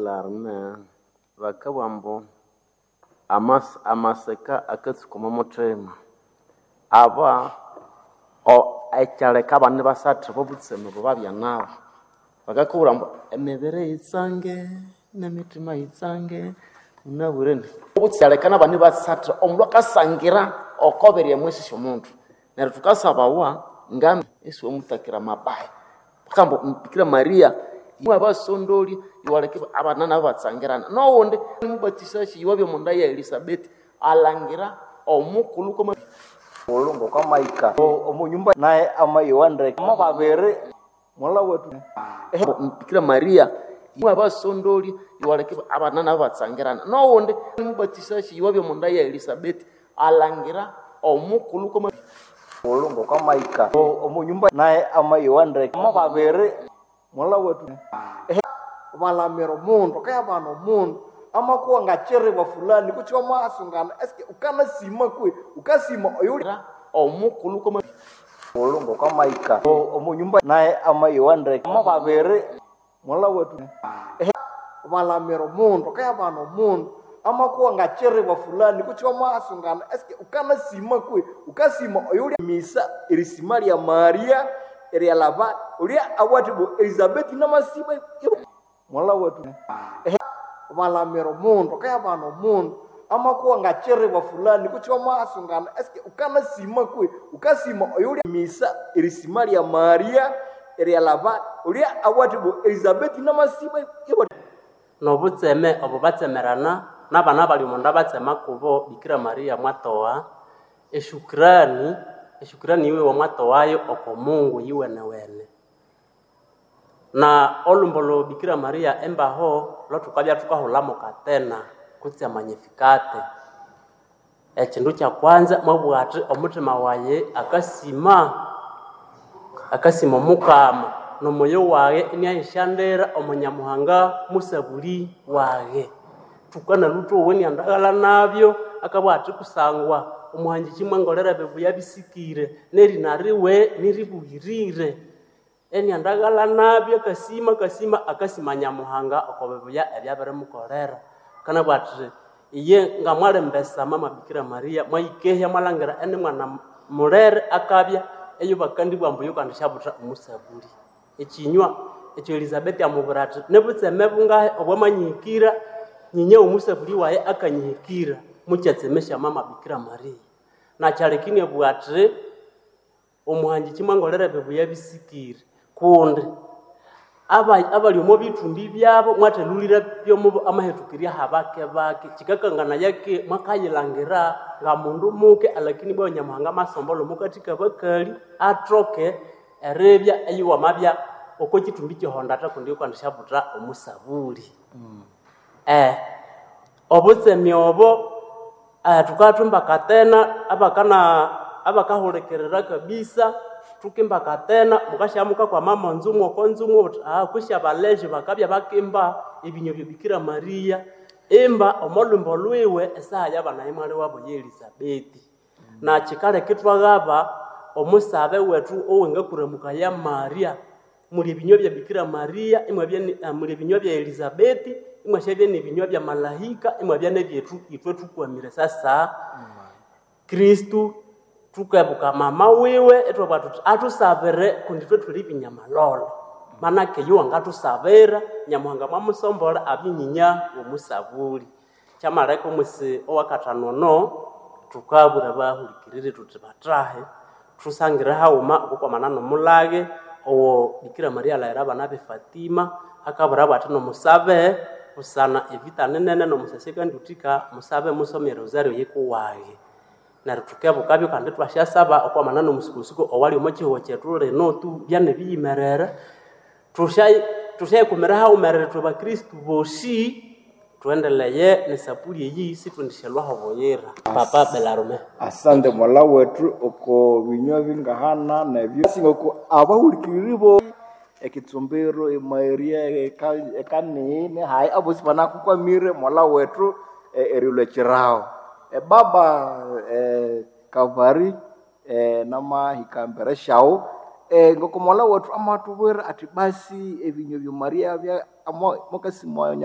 Larme bakabugha ambu amaseka akatsuka omwa muthima. Aba ekyaleka abana ibasatha obo butseme obo babya nabo. Bakakubwira ambu emibiri yitsange nemitima yitsange munabwire ekyaleka nabana ibasatha omundu akasangira oko birya emwisi syomundu. Neryo thukasabawa nga isiwamutakira amabaya. Bakabugha ambu Bikira Maria mwabasondolya iwaleka abana nabo ibatsangirana. Noghundi mubatisakyi iwabya omonda ya Elisabeth alhangira omukulhu kwama Mulhu ngokwamahika omunyumba naye amayowa ndeke mo babiri mwalha wethu. Bikira Maria mwabasondolya iwaleka abana nabo ibatsangirana. Noghundi mubatisakyi iwabya omonda ya Elisabeth alhangira omukulhu kwama Mulhu ngokwamahika omunyumba naye amayowa ndeke mo babiri mwalha wethu. Balamira omundu kayabana omundu amakuwa ngachiribwa fulani kutse wamasungana eske ukanasima kwe ukasima oyuli omukulhu kwama Mulhu ngokwamahika omunyumba naye amayowa ndeke mo babiri mwalha wethu. Balamira omundu kayabana omundu amakuwa ngachiribwa fulani kutse wamasungana eske ukanasima kwe ukasima oyuli Misa erisima lya Maria eryalaba olya abwati bo Elizabeth namasima mwalha wethu. Balamira omundu kayabana omundu amakuwa ngachiribwa fulani kutse wamasungana eske ukanasima kwe ukasima oyuli Misa erisima lya Maria eryalaba olya abwati bo Elizabeth namasima Nobutseme obo batsemerana nabana abali omonda batsema kubo Bikira Maria mwatowa eshukrani, eshukrani yiwe mwatowayo oko Mungu yuwenewene. Na olhumbo lwa Bikira Maria embaho lwathukabya thukahulha katena kutse amagnificate. Ekyindu kyakwanza mwabugha athi omuthima wayi akasima, akasima Omukama nomoyo waghe iniayisyandira omo Nyamuhanga musabuli waghe. Thukanalwa ithwowa iniandaghalha nabyo akabugha athi kusangwa omuhangikyi mwangolera ebibuya bisikire nerina riwe niribughirire. Iniandaghalha nabyo akasima akasima akasima Nyamuhanga oko bibuya ebyabirimukolera. Akanabugha athi iye ngamwalimbesa mama Bikira Maria mwayikehya mwalhangira inimwana mulere akabya eyobakandibugha ambu yukandishabutha omusabuli. Ekyinywa ekyo Elizabeth amubwira athi nibutseme bungahi obwamanyihikira nyinya womusabuli wayi akanyihikira mukyatsemesya mama Bikira Maria. Nakyaleka iniabugha athi omuhangikyi mwangolera ebibuya bisikire kundi abali omo bithumbi byabo mwathalhulira byomo amahethukirya habake bake. Kyikakanganaya ki mwakayilhangira ngamundu muke alakini ibwa Nyamuhanga amasombolha omukathi kabakali athoke eribya eyiwamabya oko kyithumbi kyehondatha kundi yukandishabutha omusabuli. Obutseme obo thukathumba katena abakahulikirira kabisa thukimba katena mukasya mukakwama monzumu oko nzumu wuthi kwisi abalejo bakabya bakimba ebinywa bya Bikira Maria imba omo lhwimbo lwiwe esaha yabana imwali wabo ye Elizabeth. Nakyikaleka ithwaghaba omusabe wethu owengakuramukaya Maria muli ebinywa bya Bikira Maria imwabya muli ebinywa bya Elizabeth imwasyabya nebinywa bya malahika imwabya nebyethu ithwe thukwamire sasa Kristo thukebuka mama wiwe ithwabugha thuthi athusabire kundi ithwe thuli binyamalolo. Manake iyo wangathusabira Nyamuhanga mwamusombolha abye nyinya womusabuli. Kyamaleka omwisi owakathanu ono thukabwira abahulikiriri thuthi bathahe thusangire haghuma okwakwamana nomulage owo Bikira Maria alhaghira abana be Fatima akabwirabo athi nomusabe busana evita ninene nomusasi akandiwuthika musabe musome erosario yikuwaghe. Neryo thukebukabyo kandi ithwasyasaba okwamana nomusukosuko owali omo kyihugho kyethu lino tu byanibiyimerere. Thusyayikumira haghumerere ithwe bakristo bosi thuendeleye nesapuli eyi sithwendisyalhwaho buyira. Papa Belarme. Asante mwalha wethu oko binywa bingahana nebyo singoko abahulikiriri bo ekitsumbiro emaeria ekanini hayi abosi banakukwamire mwalha wethu erilwa ekiraho. Baba Kavari namahika mbere syawu ngoko mwalha wethu amathubwira athi basi ebinywa bya Maria bya mukasima.